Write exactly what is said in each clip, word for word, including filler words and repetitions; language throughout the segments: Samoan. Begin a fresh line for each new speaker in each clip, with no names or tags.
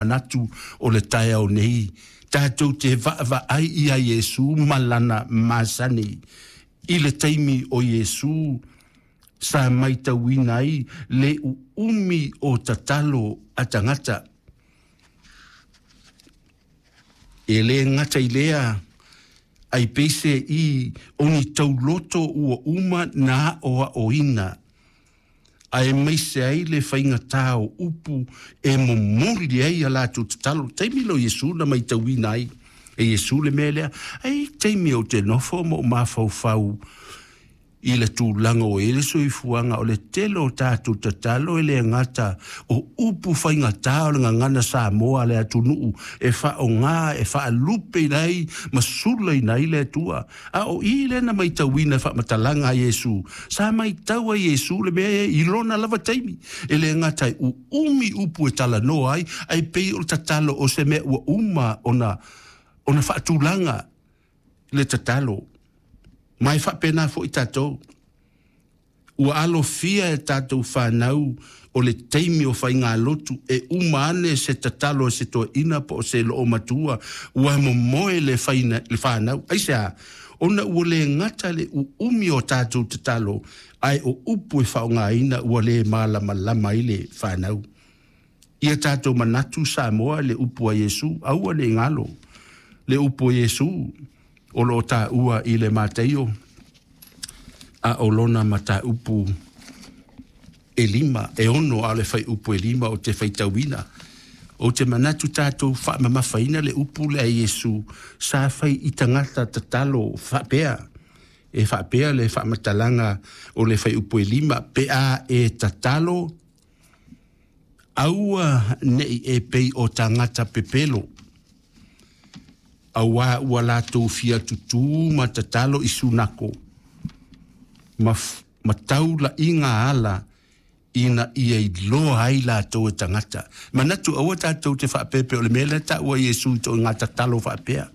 Manatu o le taeao nei, tatou te vaavaai ia Iesu ma lana masani. I le taimi o Iesu sa matauina ai le uumi o tatalo a tagata. E le gata i lea, ai peise i o ni tauloto ua uma na aoaoina, aemaise ai le faigata o upu e momoli ai a latou tatalo. Taimi lea o Iesu na matauina ai e Iesu le mea lea. Ai taimi ou te nofo ma ou mafaufau i le tulaga o i ai le soifuaga, o le tele o tatou tatalo e le gata o upu faigata o le gagana Samoa a le atunuu e faaaoga e faalupeina ai ma sulaina ai le Atua. A o i lea na matauina i faamatalaga a Iesu, sa matau ai Iesu le mea i lona lava taimi, e le gata e uumi upu e talanoa ai, ae pei o le tatalo o se mea ua uma ona ona faatulaga le tatalo. Ma e faapena foi tatou. Ua alofia e tatou fanau o le taimi o faigalotu e uma ane se tatalo a se toeaina po o se loomatua ua momoe le faina, le fanau. Aisea? Ona ua le gata le uumi o tatou tatalo, ae o upu e faaaogaina ua le malamalama ai le fanau. Ia tatou manatu Samoa le upu a Iesu, aua ne i galo le upu a Iesu o lo o taua i le Mataio a o lona mataupu e lima, e ono a o le fuaiupu e lima o te faitauina. Ou te manatu tatou faamamafaina le upu lea a Iesu sa fai i tagata tatalo faapea. E faapea le faamatalaga o le fuaiupu e lima, pe a e tatalo, aua ne i e pei o tagata pepelo, aua ua latou fia tutū ma tatalo i sunako, ma, ma taulaiga ala ina ia iloa ai latou e tagata. Manatu aua tatou te faapepe o le mea lea taua Iesu i toaiga tatalo faapea.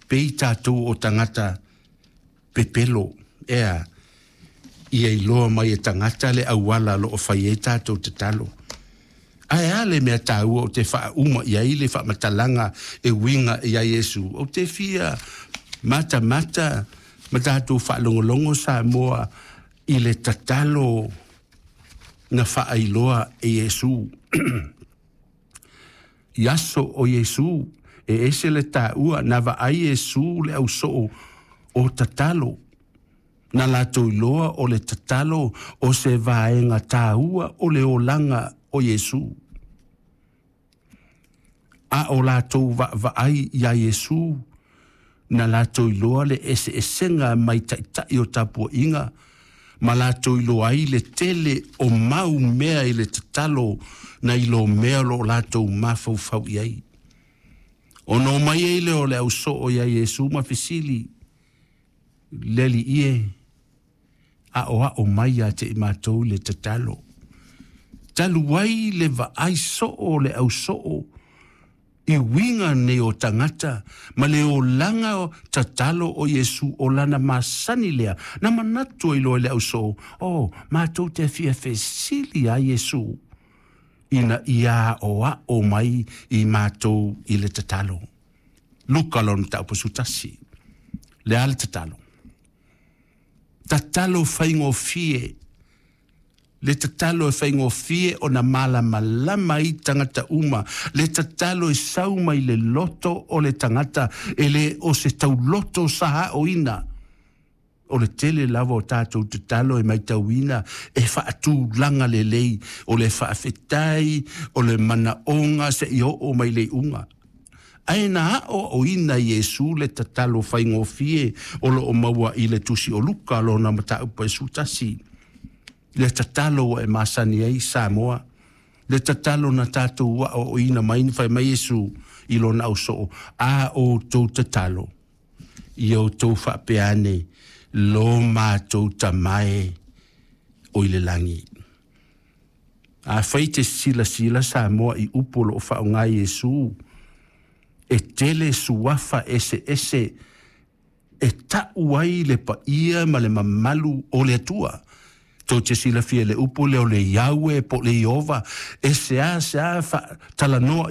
Pei tatou o tagata pepelo, ea, ia iloa mai e tagata le auala o lo o fai ai tatou tatalo. Ae a le mea taua o te faauma i ai le faamatalaga e uiga ia Iesu? Ou te fia matamata ma tatou faalogologo Samoa i le tatalo na faailoa e Iesu. I aso o Iesu, e ese le taua na vaai Iesu le ausoo o tatalo. Na latou iloa o le tatalo o se vaega taua o le olaga o Iesu. A o latou vaavaai iā Iesu, na latou iloa le eseesega mai taitai o tapuaiga, ma latou iloa ai le tele o mau mea i le tatalo nai lo mea o lo o latou mafaufau i ai. Ona omai ai lea o le ausoo iā Iesu ma fesili, Le Alii e, aoao mai ia te i matou le tatalo. Talu ai le vaai soo o le ausoo i uiga nei o tagata ma le olaga tatalo o Iesu o lana masani lea, na manatu ai loa i le ausoo, o, matou te fia fesili iā Iesu ina ia aoao mai i matou i le tatalo. Luka lona mataupu sefulutasi. Le a le tatalo? Tatalo faigofie. Le tatalo e faigofie ona malamalama ai tagata uma. Le tatalo e sau mai le loto o le tagata, e le o se tauloto sa aoina. O le tele lava o tatou tatalo e matauina e faatulaga lelei, o le faafetai, o le manaoga seia oo mai le iuga. Ae na aoaoina e Iesu le tatalo faigofie o lo o maua i le Tusi o Luka lona mataupu e sefulutasi. Le tatalo ua e masani ai Samoa, le tatalo na tatou aoaoina mai na fai mai Iesu i lona ausoo, a outou tatalo, ia outou faapea ane, Lo matou Tama e o i le lagi. Afai te silasila Samoa i upu o lo o faaaoga e Iesu, e tele suafa eseese e tau ai le paia ma le mamalu o le Atua. Tou te silafia le upu lea o le Iaue po o le Ieova, e seāseā faatalanoa.